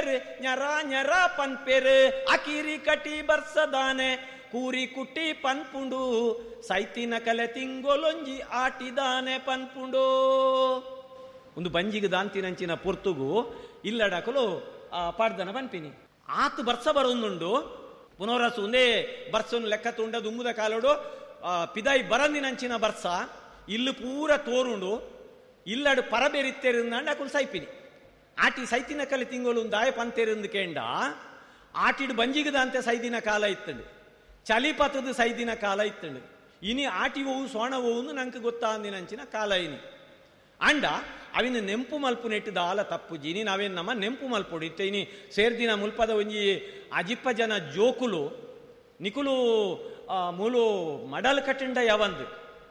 ಪನ್ಪೇರು ಞರ ಞರ ಪನ್ಪೇರು ಅಕಿರಿ ಕಟಿ ಬರ್ಸದಾನೆ ಕೂರಿ ಕುಟ್ಟಿ ಪನ್ಪುಂಡು ಸೈತಿನ ಕಲೆ ತಿಂಗೊಲೊಂಜಿ ಆಟಿದಾನೆ ಪನ್ಪುಂಡು. ಒಂದು ಬಂಜಿಗೆ ದಾಂತಿನಂಚಿನ ಪೊರ್ತುಗು ಇಲ್ಲಡಕಲು ಪಾಡ್ದನ ಪನ್ಪಿನಿ ಆತು ಬರ್ಸ ಬರೊಂದುಂಡು ಪುನರಸು ಒಂದೇ ಬರ್ಸನ್ನು ಲೆಕ್ಕ ತುಂಡ ದುಂಬುದ ಕಾಲೋಡು ಪಿದಾಯಿ ಬರಂದಿನಂಚಿನ ಬರ್ಸ ಇಲ್ಲು ಪೂರ ತೋರುಂಡು ಇಲ್ಲಡು ಪರಬೇರಿತ್ತೇರಿಂದಾಂಡ ಅಕುಲು ಸೈಪಿನಿ ಆಟಿ ಸೈತಿನ ಕಲೆ ತಿಂಗಳು ದಾಯ ಪಂತೇರಿಂದು ಕೇಂಡ ಆಟಿಡು ಬಂಜಿಗದಂತೆ ಸೈದಿನ ಕಾಲ ಇತ್ತಂಡು ಚಲಿಪತದ ಸೈದಿನ ಕಾಲ ಇತ್ತಂಡು ಇನಿ ಆಟಿ ಹೋವು ಸೋಣ ಹೋವು ನಂಗೆ ಗೊತ್ತಾಂದಿನಂಚಿನ ಕಾಲ ಇನಿ ಅಂಡ ಅವಿನ ನೆಂಪು ಮಲ್ಪು ನೆಟ್ಟು ದಾಲ ತಪ್ಪುಜಿ ಇನಿ ನಾವೇನು ನಮ್ಮ ನೆಂಪು ಮಲ್ಪೊಡು ಇತ್ತೆ ಇನಿ ಸೇರ್ದಿನ ಮುಲ್ಪದ ಒಂಜಿ ಅಜಿಪ್ಪ ಜನ ಜೋಕುಲು ನಿಕುಲು ಮೂಲು ಮಡಲ್ ಕಟ್ಟಿಂಡ ಯಾವಂದು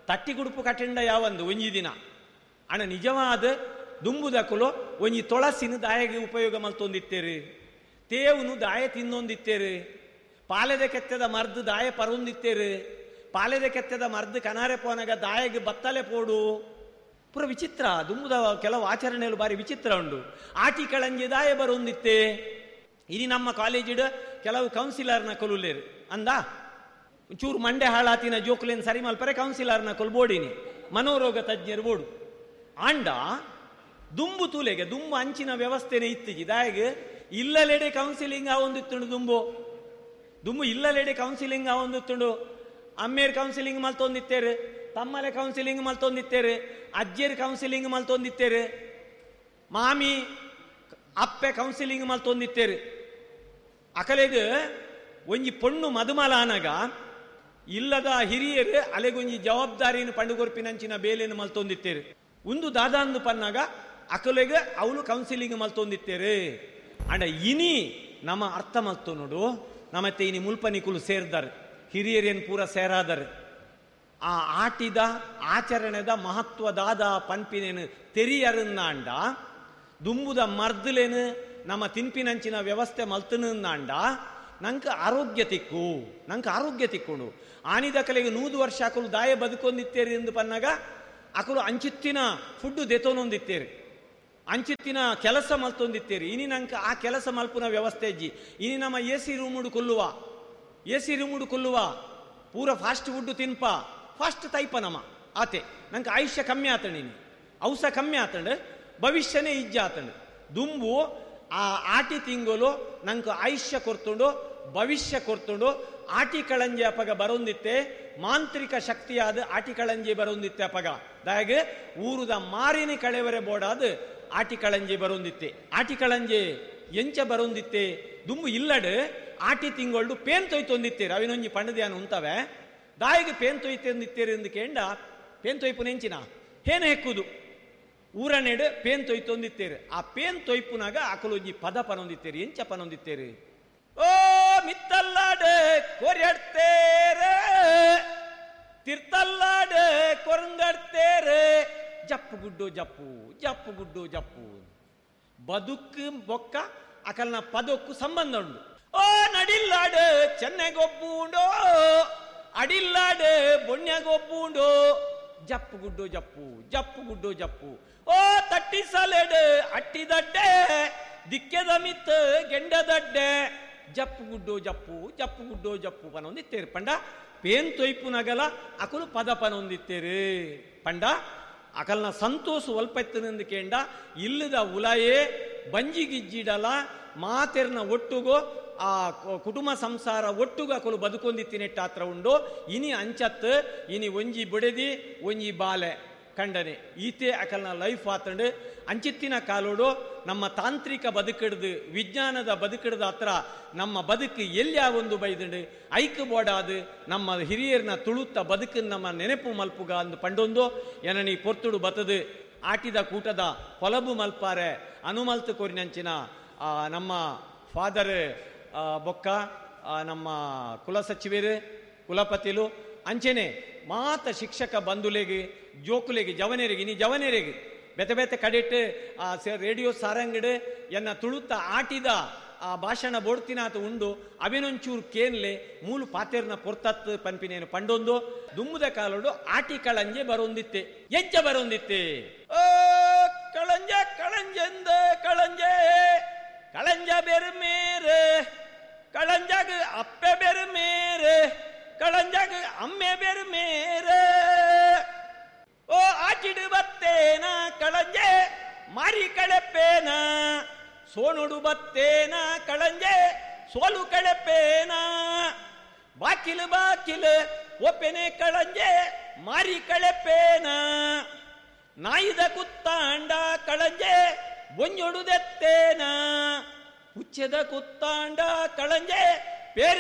ತಟ್ಟಿ ಗುಡುಪು ಕಟ್ಟಿಂಡ ಯಾವಂದು ಒಂಜಿ ದಿನ ಅಣ್ಣ ನಿಜವಾದ ದುಂಬುದಕುಲು ಒಂಜಿ ತೊಳಸಿನ ದಾಯಗೆ ಉಪಯೋಗ ಮಲ್ತೊಂದಿತ್ತೇರು ತೇವನು ದಾಯ ತಿನ್ನೊಂದಿತ್ತೇರು ಪಾಲೆದ ಕೆತ್ತದ ಮರ್ದು ದಾಯ ಪರೊಂದಿತ್ತೇರು ಪಾಲೆದ ಕೆತ್ತದ ಮರ್ದು ಕನಾರೆ ಪೋನಾಗ ದಾಯಗೆ ಬತ್ತಲೆ ಪೋಡು ಪೂರ ವಿಚಿತ್ರ ದುಂಬುದ ಕೆಲವು ಆಚರಣೆಗಳು ಬಾರಿ ವಿಚಿತ್ರ ಉಂಡು. ಆಟಿ ಕಳಂಜಿ ದಾಯ ಬರೊಂದಿತ್ತೆ ಇನಿ ನಮ್ಮ ಕಾಲೇಜಿಡ್ ಕೆಲವು ಕೌನ್ಸಿಲರ್ನ ಕೊಲುಲೇರು ಅಂದ ಚೂರು ಮಂಡೆ ಹಾಳಾತಿನ ಜೋಕುಲೇನು ಸರಿ ಮಲ್ಪರೆ ಕೌನ್ಸಿಲರ್ನ ಕೊಲ್ ಬೋಡಿನಿ ಮನೋರೋಗ ತಜ್ಞರು ಬೋಡು ಆಂಡ ದುಂಬು ತೂಲೆಗೆ ದುಂಬು ಅಂಚಿನ ವ್ಯವಸ್ಥೆನೇ ಇತ್ತಿಜಿ ದಾಯಗೆ ಇಲ್ಲಲೆಡೆ ಕೌನ್ಸಿಲಿಂಗ್ ಆವೊಂದಿತ್ತುಂಡು ದುಂಬು ದುಂಬು ಇಲ್ಲಲೆಡೆ ಕೌನ್ಸಿಲಿಂಗ್ ಆವೊಂದಿತ್ತುಂಡು ಅಮ್ಮೇರ್ ಕೌನ್ಸಿಲಿಂಗ್ ಮಲ್ತೊಂದಿತ್ತೇರು ತಮ್ಮಲೆ ಕೌನ್ಸಿಲಿಂಗ್ ಮಲ್ತೊಂದಿತ್ತೇರು ಅಜ್ಜೇರು ಕೌನ್ಸಿಲಿಂಗ್ ಮಲ್ತೊಂದಿತ್ತೇರು ಮಾಮಿ ಅಪ್ಪೆ ಕೌನ್ಸಿಲಿಂಗ್ ಮಲ್ತೊಂದಿತ್ತೇರು ಅಕಲೆಗ್ ಒಂಜಿ ಪೊಣ್ಣು ಮದುಮಲ ಆನಗ ಇಲ್ಲದ ಹಿರಿಯರು ಅಲೆಗೊಂಜಿ ಜವಾಬ್ದಾರಿಯನ್ನು ಪಂಡುಗೊರ್ಪಿನಂಚಿನ ಬೇಲೆಯನ್ನು ಮಲ್ತೊಂದಿತ್ತೇರು ಒಂದು ದಾದಾಂದು ಪನ್ನಾಗ ಅಕಲೆಗ್ ಅವಳು ಕೌನ್ಸಿಲಿಂಗ್ ಮಲ್ತೊಂದಿತ್ತೇರು ಅಂಡ ಇನಿ ನಮ್ಮ ಅರ್ಥ ಮಲ್ತು ನೋಡು ನಮ್ಮತ್ತೆ ಇನಿ ಮುಲ್ಪನಿಕುಲು ಸೇರ್ದಾರೆ ಹಿರಿಯರೇನು ಪೂರ ಸೇರಾದರೆ ಆ ಆಟಿದ ಆಚರಣೆದ ಮಹತ್ವದಾದ ಪನ್ಪಿನೇನು ತೆರಿಯರನ್ನಾಂಡ ದುಂಬುದ ಮರ್ದಲೇನು ನಮ್ಮ ತಿನ್ಪಿನಂಚಿನ ವ್ಯವಸ್ಥೆ ಮಲ್ತನಾಂಡ ನಂಗೆ ಆರೋಗ್ಯ ತಿಕ್ಕು ನಂಗೆ ಆರೋಗ್ಯ ತಿಕ್ಕೊಂಡು ಆನಿದ ಕಲೆಗೆ 100 ವರ್ಷ ಅಕಲು ದಾಯ ಬದುಕೊಂದಿತ್ತೇರಿ ಎಂದು ಪನ್ನಾಗ ಅಕಲು ಅಂಚಿತ್ತಿನ ಫುಡ್ಡು ದೆತೋನೊಂದಿತ್ತೇರಿ ಅಂಚಿತ್ತಿನ ಕೆಲಸ ಮಲ್ತೊಂದಿತ್ತೇರಿ ಇನಿ ನಂಗೆ ಆ ಕೆಲಸ ಮಲ್ಪುನ ವ್ಯವಸ್ಥೆ ಅಜ್ಜಿ ಇನಿ ನಮ್ಮ ಎ ಸಿ ರೂಮುಡು ಕೊಲ್ಲುವ ಎ ಸಿ ರೂಮುಡು ಕೊಲ್ಲುವ ಪೂರ ಫಾಸ್ಟ್ ಫುಡ್ಡು ತಿನ್ಪ ಫಾಸ್ಟ್ ತೈಪ ನಮ್ಮ ಆತೆ ನಂಗೆ ಆಯುಷ್ಯ ಕಮ್ಮಿ ಆತಂಡು ಇನಿ ಔಸ ಕಮ್ಮಿ ಆತಂಡು ಭವಿಷ್ಯನೇ ಇಜ್ಜ ಆತಂಡು ದುಂಬು ಆ ಆಟಿ ತಿಂಗಳು ನಂಗೆ ಆಯುಷ್ಯ ಕೊರ್ತುಂಡು ಭವಿಷ್ಯ ಕೊರ್ತುಂಡು ಆಟಿ ಕಳಂಜಿ ಅಪಗ ಬರೊಂದಿತ್ತೆ ಮಾಂತ್ರಿಕ ಶಕ್ತಿಯಾದ ಆಟಿ ಕಳಂಜಿ ಬರೊಂದಿತ್ತೆ ಅಪಗ ದಾಗೆ ಊರುದ ಮಾರಿನ ಕಳೆವರೆ ಬೋಡಾದ ಆಟಿ ಕಳಂಜಿ ಬರೊಂದಿತ್ತೆ ಆಟಿ ಕಳಂಜಿ ಎಂಚ ಬರೊಂದಿತ್ತೆ ದುಂಬು ಇಲ್ಲಡು ಆಟಿ ತಿಂಗಳು ಪೇನ್ ತೊಯ್ತೊಂದಿತ್ತೇರು ಅವಿನೊಂಜಿ ಪಂಡದ್ಯಾನ ಉಂತವೆ ದಾಯಿಗೆ ಪೇನ್ ತೊಯ್ತೊಂದಿತ್ತೇರು ಎಂದು ಕೇಂಡ ಪೇನ್ ತೊಯ್ಪು ನೆಂಚಿನ ಹೇನ ಹೆಕ್ಕುದು ಊರನೆಡು ಪೇನ್ ತೊಯ್ತೊಂದಿತ್ತೇರು ಆ ಪೇನ್ ತೊಯ್ಪುನಾಗ ಅಕಲೊಂಜಿ ಪದ ಪನೊಂದಿತ್ತೇರು ಎಂಚ ಪನೊಂದಿತ್ತೇರು ಓ ಮಿತ್ತಲ್ಲಾಡು ಕೊರೆಡ್ತೇರೆ ತಿರ್ತಲ್ಲಾಡು ಕೊರಂಗಡ್ತೇರೆ ಜಪ್ಪು ಗುಡ್ಡು ಜಪ್ಪು ಜಪ್ಪು ಗುಡ್ಡು ಜಪ್ಪು ಬದುಕು ಬೊಕ್ಕ ಅಕಲ್ನ ಪದಕ್ಕೂ ಸಂಬಂಧ ಉಂಡು. ಓ ನಡಿಲ್ಲಾಡು ಚೆನ್ನೆಗೊಬ್ಬುಂಡೋ ಅಡಿಲ್ಲಾಡು ಬೊಣ್ಯಗೊಬ್ಬುಂಡೋ ಜಪ್ಪು ಗುಡ್ಡು ಜಪ್ಪು ಜಪ್ಪು ಗುಡ್ಡು ಜಪ್ಪು ಓ ತಟ್ಟಿ ಸಲೆಡು ಅಟ್ಟಿದಡ್ಡೆ ದಿಕ್ಕೆದ ಮಿತ್ತು ಗೆಂಡದಡ್ಡೆ ಜಪ್ಪು ಗುಡ್ಡು ಜಪ್ಪು ಜಪ್ಪು ಗುಡ್ಡು ಜಪ್ಪು ಪನೊಂದಿತ್ತೇರು ಪಂಡ ಪೇನ್ ತೊಯ್ಪುನಗಲ ಅಕಲು ಪದ ಪನೊಂದಿತ್ತೇರು ಪಂಡ ಅಕಲ್ನ ಸಂತೋಷ ಒಲ್ಪೆತ್ತನೆಂದು ಕೇಂಡ ಇಲ್ಲದ ಉಲಾಯೇ ಬಂಜಿಗಿಜ್ಜಿಡಲ ಮಾತೆರ್ನ ಒಟ್ಟುಗೋ ಆ ಕುಟುಂಬ ಸಂಸಾರ ಒಟ್ಟುಗು ಅಕಲು ಬದುಕೊಂದಿತ್ತಿನೆಟ್ಟಾತ್ರ ಉಂಡು ಇನಿ ಅಂಚತ್ತು ಇನಿ ಒಂಜಿ ಬುಡೆದಿ ಒಂಜಿ ಬಾಲೆ ಕಂಡನೆ ಈತೆ ಅಕಲ್ನ ಲೈಫ್ ಆತಂಡು ಅಂಚಿತ್ತಿನ ಕಾಲೋಡು ನಮ್ಮ ತಾಂತ್ರಿಕ ಬದುಕಿಡ್ದು ವಿಜ್ಞಾನದ ಬದುಕಿಡ್ದ ಹತ್ರ ನಮ್ಮ ಬದುಕು ಎಲ್ಲಿ ಒಂದು ಬೈದಂಡು ಐಕ್ ಬೋಡಾದು ನಮ್ಮ ಹಿರಿಯರ್ನ ತುಳುತ್ತ ಬದುಕು ನಮ್ಮ ನೆನಪು ಮಲ್ಪುಗ ಅಂದು ಪಂಡೊಂದು ಏನನಿ ಪೊರ್ತುಡು ಬತದು ಆಟಿದ ಕೂಟದ ಹೊಲಬು ಮಲ್ಪಾರೆ ಅನುಮಲ್ತು ಕೋರಿನಂಚಿನ ನಮ್ಮ ಫಾದರ್ ಬೊಕ್ಕ ನಮ್ಮ ಕುಲಸಚಿವರು ಕುಲಪತಿಲು ಅಂಚೆನೆ ಮಾತ ಶಿಕ್ಷಕ ಬಂಧುಲೆಗೆ ಜೋಕುಲೆಗೆ ಜವನೆರಿಗೆ ಇನಿ ಜವನೆರಿಗೆ ಬೆತೆ ಬೆತೆ ಕಡೆಟ್ ಆ ರೇಡಿಯೋ ಸಾರಂಗಡು ಎನ್ನ ತುಳುತ್ತ ಆಟಿದ ಆ ಭಾಷಣ ಬೋಡ್ತಿನಾತ ಉಂಡು ಅವಿನೊಂಚೂರು ಕೇನ್ಲೆ ಮೂಲು ಪಾತೆರ್ನ ಪೊರ್ತತ್ ಪನ್ಪಿನೇನು ಪಂಡೊಂದು ದುಮ್ಮುದ ಕಾಲೋಡು ಆಟಿ ಕಳಂಜೆ ಬರೊಂದಿತ್ತೆ ಎಜ್ಜ ಬರೊಂದಿತ್ತೆ ಓ ಕಳಂಜ ಕಳಂಜೆಂದ ಕಳಂಜೆ ಕಳಂಜ ಬೆರ್ಮೇರ್, ಕಳಂಜಗ್ ಅಪ್ಪೆ ಬೆರ್ಮೇರ್, ಕಳಂಜಗ್ ಅಮ್ಮೆ ಬೆರ್ಮೇರ್. ಓ ಆಚಿಡು ಬತ್ತೇನ ಕಳಂಜೆ ಮಾರಿ ಕಳೆಪೇನ, ಸೋನುಡು ಬತ್ತೇನ ಕಳಂಜೆ ಸೋಲು ಕಳೆಪೇನ, ಬಾಕಿಲು ಬಾಕಿಲು ಒಪ್ಪೆನೆ ಕಳಂಜೆ ಮಾರಿ ಕಳೆಪೇನ, ನಾಯಿದ ಕುತ್ತಾಂಡ ಕಳಂಜೆ ಬೊಂಜೊಡುದೆತ್ತೇನ, ಪುಚ್ಚೆದ ಕುತ್ತಾಂಡ ಕಳಂಜೆ